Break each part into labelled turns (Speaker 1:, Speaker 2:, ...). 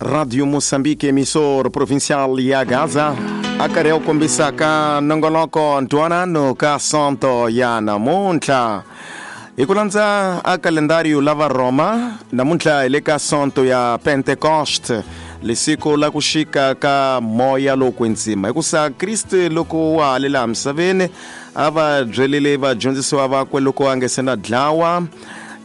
Speaker 1: Radio Moçambique, emissor provincial ya Gaza, a karhi ya ku kombisa ka nongonoko ntwanano ka sonto ya namuntlha. Hi ku landza a kalendario la va Roma, namuntlha hi le ka sonto ya Pentecost, lisiku la ku xika ka moya lowo kwetsima. Hikusa Kriste loko wa ha le laha misaveni a va byelile vadyondzisiwa vakwe loko a nge se na dlawa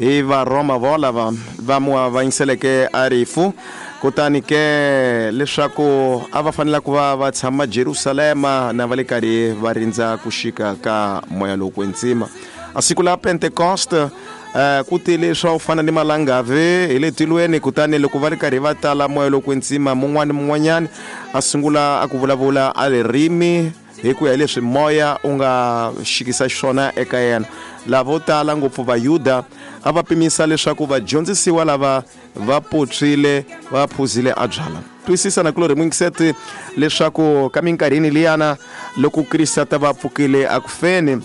Speaker 1: hi varhoma volava va mu avanyiseleke a rifu, kutani ke leswaku a va fanela ku va va tshama Jerusalema na va le karhi va rindza ku xika ka moya lowo kwetsima. A siku la Pentecost ku tile swa ku fana ni malangavi hi le tilweni, kutani loko va ri karhi va tala moya lowo kwetsima, mun'wana ni mun'wanyana a sungula a ku vulavula a ririmi hi ku ya hi leswi moya u nga xikisa xiswona eka yena. Lavo tala ngopfu Vayuda a va pimisa leswaku vadyondzisiwa lava va potswile va phuzile a byala. Twisisa na kulorhi mwingiseti leswaku ka minkarhini liyana loko Kriste a ta va pfukile a ku feni,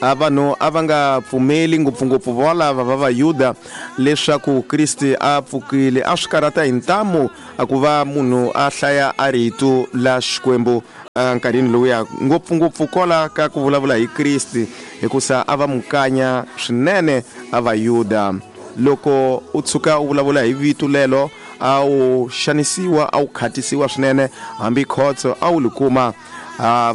Speaker 1: a vanhu a va nga pfumeli ngopfungopfu volava va Vayuda leswaku Kriste a pfukile. A swi karhata hi ntamu a ku va munhu a hlaya a rito la Xikwembu nkarhini lowuya, ngopfungopfu kola ka ku vulavula hi Kriste, hikusa a va mukanya swinene a Vayuda. Loko u tshuka u vulavula hi vito lelo, a wu xanisiwa, a wu khatisiwa swinene, hambi khotso a wu li kuma.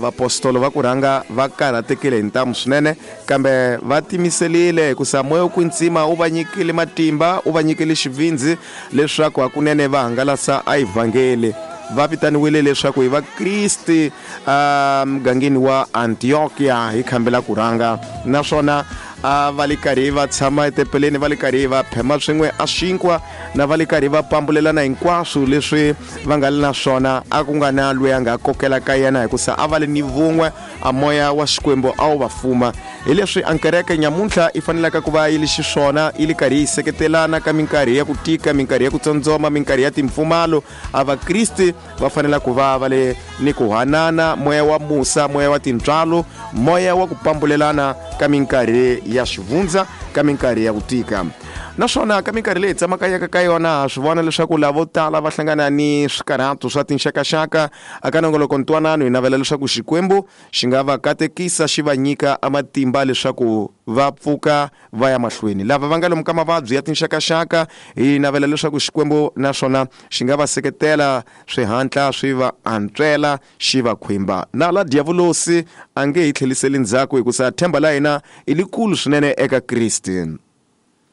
Speaker 1: Vapostolo va ku rhanga va karhatekile hi ntamu swinene, kambe va timiselile hikusa moya wo kwetsima wu va nyikile matimba, wu va nyikile xivindzi leswaku hakunene va hangalasa a evhangeli. Va vitaniwile leswaku hi Vakriste mugangeni wa Antiokia hi khambela ku rhanga, naswona a va le karhi va tshama etempeleni, va le karhi va phema swin'we a xinkwa, na va le karhi va pambulelana hinkwaswo leswi va nga le na swona. A ku nga na loyi a nga kokela ka yena, hikusa a va le ni vun'we, a moya wa Xikwembu a wu va fuma. Hi leswi a kereke nyamuntlha i fanelaka ku va yi li xiswona, yi le karhi yi seketelana ka minkarhi ya ku tika, minkarhi ya ku tsondzoma, minkarhi ya timpfumalo. A Vakriste va fanela ku va va le ni ku hanana, moya wa musa, moya wa tintswalo, moya wa ku pambulelana ka minkarhi ya xivundza, ka minkarhi ya ku tika. Naswona ka minkarhi leyi hi tsamakanyaka ka yona, ha swi vona leswaku lavo tala va hlangana ni swikarhato swa tinxakaxaka. Aka nongoloko ntwanano hi navela leswaku Xikwembu xi nga va katekisa, xi va nyika a matimba leswaku va pfuka va ya mahlweni. Lava va nga lomu ka mavabyi ya tinxakaxaka, hi navela leswaku Xikwembu naswona xi nga va seketela swihatla swi va antswela, xi va khwimba. Na la diavulosi a nge hi tlheliseli ndzhaku, hikusa themba la hina i likulu swinene eka Kriste.